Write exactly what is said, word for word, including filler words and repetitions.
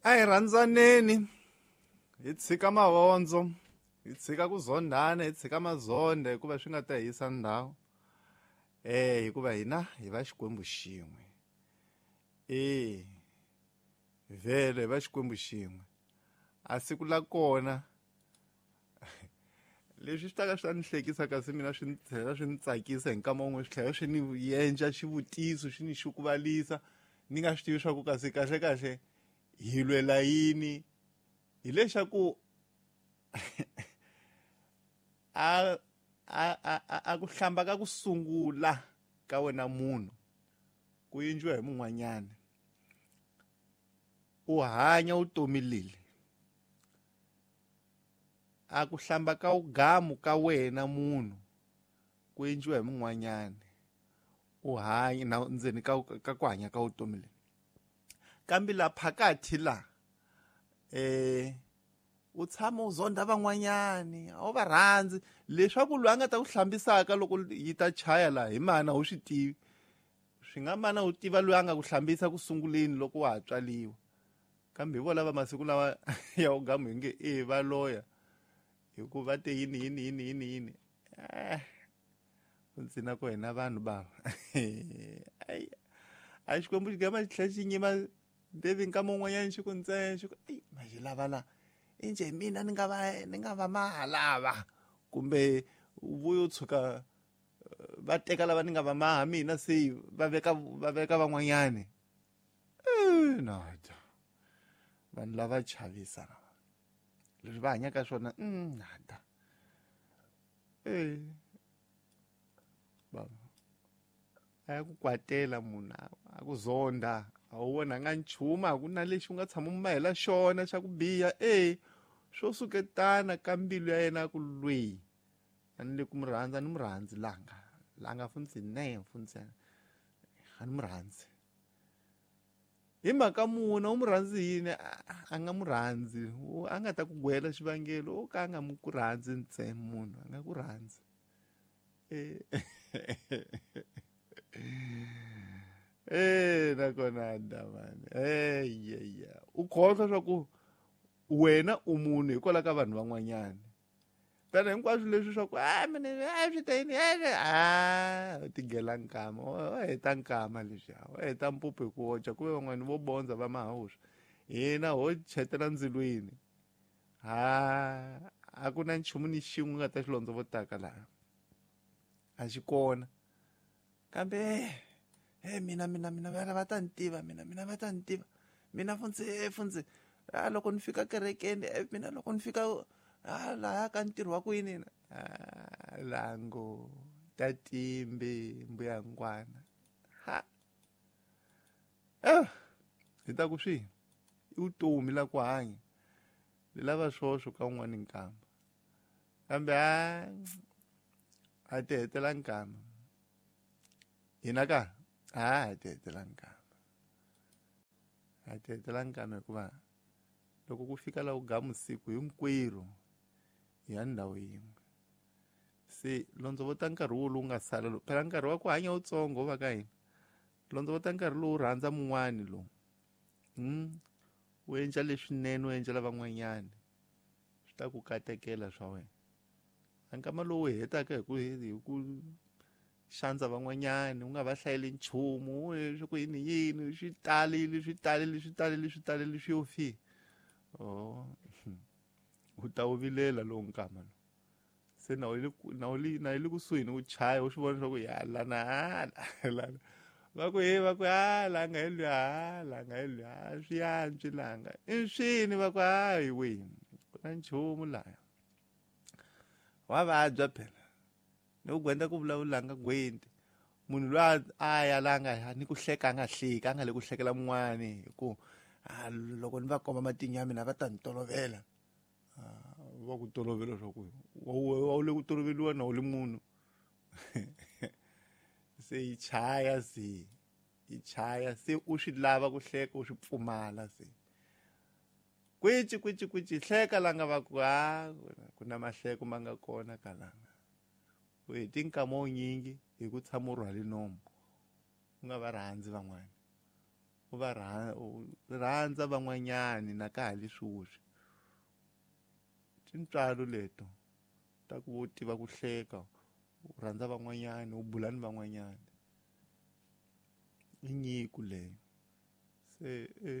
A hi rhandzaneni hi tshika mavondzo, hi tshika ku zondhana, hi tshika mazonde hikuva swi nga ta hi yisa ndhawu. Eh hikuva hina hi va Xikwembu xin'we. Eh vhele hi va Xikwembu xin'we. A siku la kona leswi swi ta ka swi ta ni hlekisa kasi mina swi ni tlhela swi ni tsakisa hi nkama wun'we, swi tlhela swi ni endla xivutiso xi ni xukuvalisa ni nga swi tivi swa ku kasi kahle kahle hi lwela yini. Hi lexaku a a a a ku hlamba ka ku sungula ka wena munhu ku endliwa hi mun'wanyana, u hanya vutomi leli. A ku hlamba ka ugamu ka wena munhu ku endliwa hi mun'wanyana, u hanya na ndzeni ka ka ku hanya ka vutomi leli. Kambe la phakathi la eh u tshama u zonda van'wanyani, a wu va rhandzi, leswaku loyi a nga ta ku hlambisaka loko yi ta chaya laha hi mana u swi tivi. Swi nga mana u tiva loyi a nga ku hlambisa ku sunguleni loko wa ha tswaliwa, kambe hi vona lava masiku lawa ya ugamu hi nge e va loya hikuva te yini yini yini yini yini. Eh ntsena ku hina vanhu bava ai a Xikwembu xi gama xi tlhela xi nyima David nkama wun'wanyana xi ku ntsena xi ku ei ma xi lava la inje mina ni nga va ni nga va maha lava kumbe vuyo tshuka va teka lava ni nga va maha mina se va veka va veka van'wanyani. Eh nada vanhu lava chavisa leswi va hanyaka swona nada. Eh baba a ya ku kwatela munhu a ku zonda a wu vonanga nchumu, a ku na lexi u nga tshama u mahela xona xa ku biha. E swo suketana ka mbilu ya yena ku lweyi a ni le ku mu rhandza, a ni mu rhandzi langa langa funtsi ne funtsi a ni mu rhandzi hi mhaka muna. U mu rhandzi yini? A nga mu rhandzi, a nga ta ku gwela xivangelo o ka a nga mu ku rhandzi ntsena munhu a nga ku rhandzi. Eh eh nakona damani eh yeah u khohlwa swa ku wena u munhu hikwalaho ka vanhu van'wanyana. Tana hinkwaswo leswi swa ku a mina a swi ta yini a u tigela nkama u heta nkama leswiya u heta mpupu hi ku oca ku ve van'wani vo bondza va mahawuswa hina ho chetela ndzilweni. Ha a ku na nchumu ni xin'we u nga ta xi londzovotaka laha a xi kona. Kambe eh mina mina mina vana va ta ni tiva mina mina va ta ni tiva mina funtsi funtsi a loko ni fika kerekeni mina loko ni fika a laha ka ntirho wa ku yini a lango ta timbe mbuya ngwana ha eh hi ta ku swi i vutomi la ku hanya li lava swoswo ka un'wana nkamba kambe a a ti hetela nkamba hina ka a hi ti hetela nkamba a ti hetela nkamba hikuva loko ku fika la u gamu siku hinkwerhu hi ya ndhawu yin'we. Se londzovota nkarhi wo lowu nga sala lowu phela nkarhi wa ku hanya wutsongo va ka hina, londzovota nkarhi lowu rhandza mun'wani lowu mm u endla leswinene u endlela van'wanyana swi ta ku katekela swa wena. A nkama lowu hetaka hi ku hi ku xandza van'wanyana u nga va hlayeli nchumu swi ku yini yini swi talile swi talile swi talile swi talile swi yo fika oh u ta wu vilela lowu nkama lowu se na wu na wu na yi le kusuhi ni ku chaya u swi vona swa ku ya lana lana va ku he va ku a langa hi luya langa hi luya swi yantswi langa i swini va ku hayi we ku na nchumu laya wa vabya phela ni ku gwenda ku vulavulanga gwenti munhu loyi a ya langa ni ku hleka a nga hleki a nga le ku hlekela mun'wani hi ku loko ni va komba matinyo ya mina va ta ni tolovela. Va ku tolovela swa ku wa wu le ku toloveliwa na wu le munhu se yi chaya se yi chaya se u swi lava ku hleka u swi pfumala se kwici kwici kwici hleka langa va ku a ku na mahleko ma nga kona kalanga u heti nkama wunyingi hi ku tshama u rhwale nomu u nga va rhandzi van'wana U va u rhandza van'wanyani na ka ha li swoswi. Tintswalo leto ta ku u tiva ku hleka, u rhandza van'wanyani, u bula ni van'wanyani, i nyiko leyo se e.